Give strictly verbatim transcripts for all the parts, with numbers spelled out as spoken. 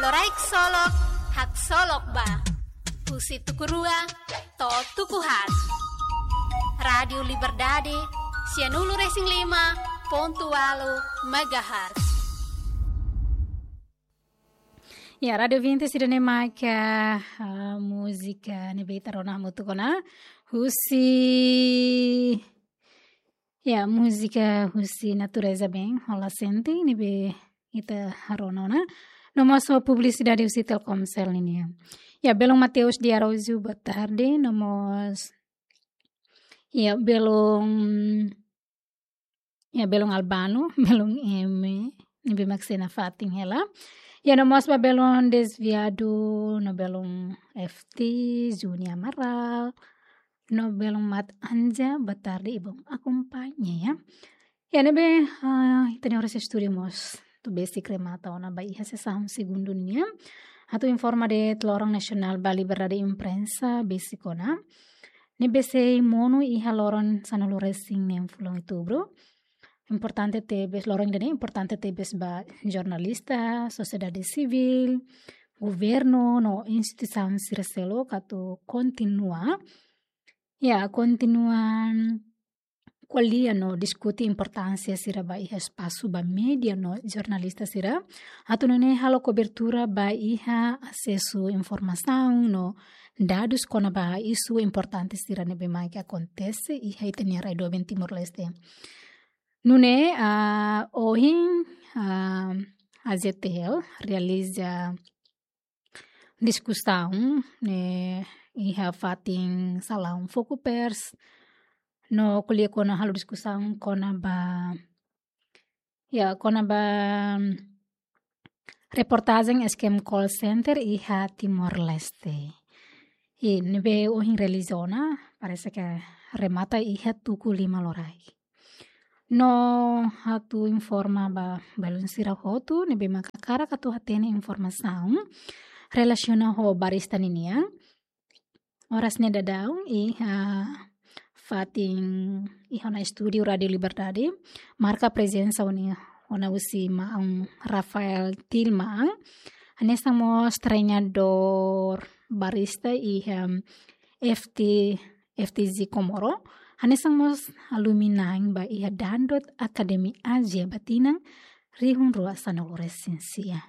Loraik Solok, haksolok ba. Husi tuku rua to'o tuku haat. Rádiu Liberdade, sianulu-resin-lima pontu ualu megahertz. Ya, rádiu ouvinte, sira-ne'e mak, ah, múzika ne'ebé ita rona hamutuk ona. Husi, ya, múzika husi Natureza Bem, Hola Sente, ne'ebé ita rona ona. No mós publisidade husi Telkomsel nian. Ya, belun Mateus de Araújo, boa tarde. No mós, ya, belun Ya, belun Albano, belun M, ne'ebé mak sei nafatin hela. Ya, no mós ba belun Desviado, no belun F T, Juni Amaral, no belun Mat Anja, boa tarde, ibun akompaña, ya. Ya, ne'ebé, ah, ita-nia oras estúdiu mós atu besik remata ona ba iha sesaun segundu nian. Atu informa de'it loron nasionál ba liberdade imprensa besik ona. Ne'ebé sei monu iha loron sanulu-resin-neen fulan Outubru. Importante tebes, loron ida-ne'e importante tebes ba jornalista, sosiedade sivíl, governu, no instituisaun sira seluk atu kontinua, ya, kontinua ko'alia no diskute importánsia sira ba iha espasu ba média no jornalista sira, atu nune'e halo kobertura ba iha asesu informasaun no dadus kona-ba isu importante sira ne'ebé mak akontese iha ita-nia rai doben Timor-Leste. Nune'e, ah, ohin, ah, A Z T L realiza diskusaun ne'e iha fatin salaun Fokupers, no ko'alia kona, halo diskusaun kona-ba, ya, kona-ba reportajen eskema call center iha Timor-Leste. I ne'ebé ohin realiza ona, parese ke remata iha tuku lima loraik. No atu informa ba belun sira hotu ne'ebé mak hakarak atu hatene informasaun relasiona ho barista ninian. Oras ne'e daudaun iha fatin iha ona estúdiu Rádiu Liberdade, marka prezensa ona, ona husi maun Rafael Tilman. Hanesan mós treinadór barista iha F T, F T Z Komoro. Hanesan mós alumni ba iha Dangdut Academy Ázia ba tinan rihun rua sanulu-resin-sia.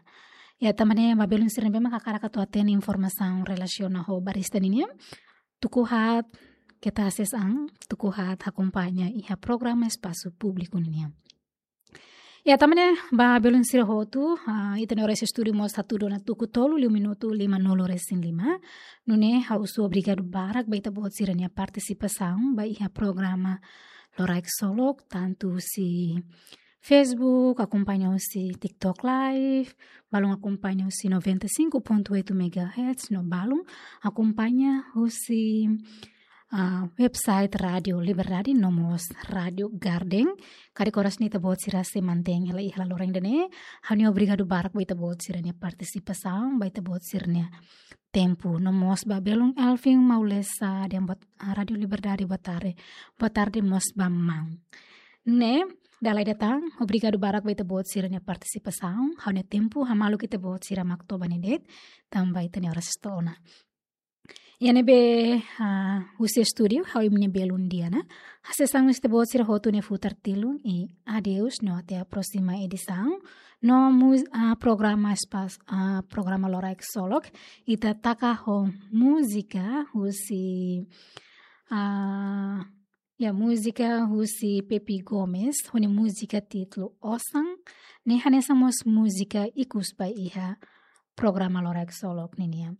Ya, tanba ne'e ba belun sira ne'ebé mak hakarak atu hatene informasaun relasiona ho barista ninian, tuku haat keta ases an, tuku haat akompaña iha programa espasu públiku ninian. Ya, tanba ne'e ba belun sira hotu, ah, ita-nia oras estúdiu mós hatudu ona tuku tolu liu minutu limanulu-resin-lima. Nune'e ha'u husu obrigadu barak ba ita-boot sira-nia partisipasaun ba iha programa Loraik Solok, tantu husi Facebook, akompaña husi TikTok Live, balun akompaña husi noventa e cinco ponto oito megahertz, no balun akompaña husi, ah, website Rádiu Liberdade, no mós Rádiu Garden. Karik oras ne'e ita-boot sira sei mantein hela iha loron ida-ne'e. Ha'u-nia obrigadu barak ba ita-boot sira-nia partisipasaun, ba ita-boot sira-nia tempu. No mós ba belun Elvin Maulesa, dehan boa, ah, Rádiu Liberdade, boa tarde. Boa tarde mós ba maun. Ne'e, dala ida tan, obrigadu barak ba ita-boot sira-nia partisipasaun. Ha'u-nia tempu hamaluk ita-boot sira mak toba ne'e de'it, tanba ita-nia oras to'o ona. Ya, ne'ebé, ah, husi estúdiu, ha'u imi-nia belun Diana. Hasees an husi ita-boot sira hotu ne'e futar tilun i adeus no até a próxima edição. No mus-, ah, programa espas-, ah, programa Loraik Solok, ita taka ho múzika husi, ah, ya, múzika husi Pepi Gomes, ho nia múzika títulu Osan, ne'e hanesan mós múzika ikus ba iha programa Loraik Solok ninian.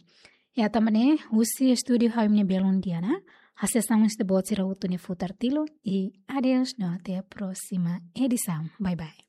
Ya, tanba ne'e, husi estúdiu ha'u imi-nia belun Diana, hasees an husi ita-boot sira hotu ne'e futar tilun i adeus no até a próxima edição. Bye bye.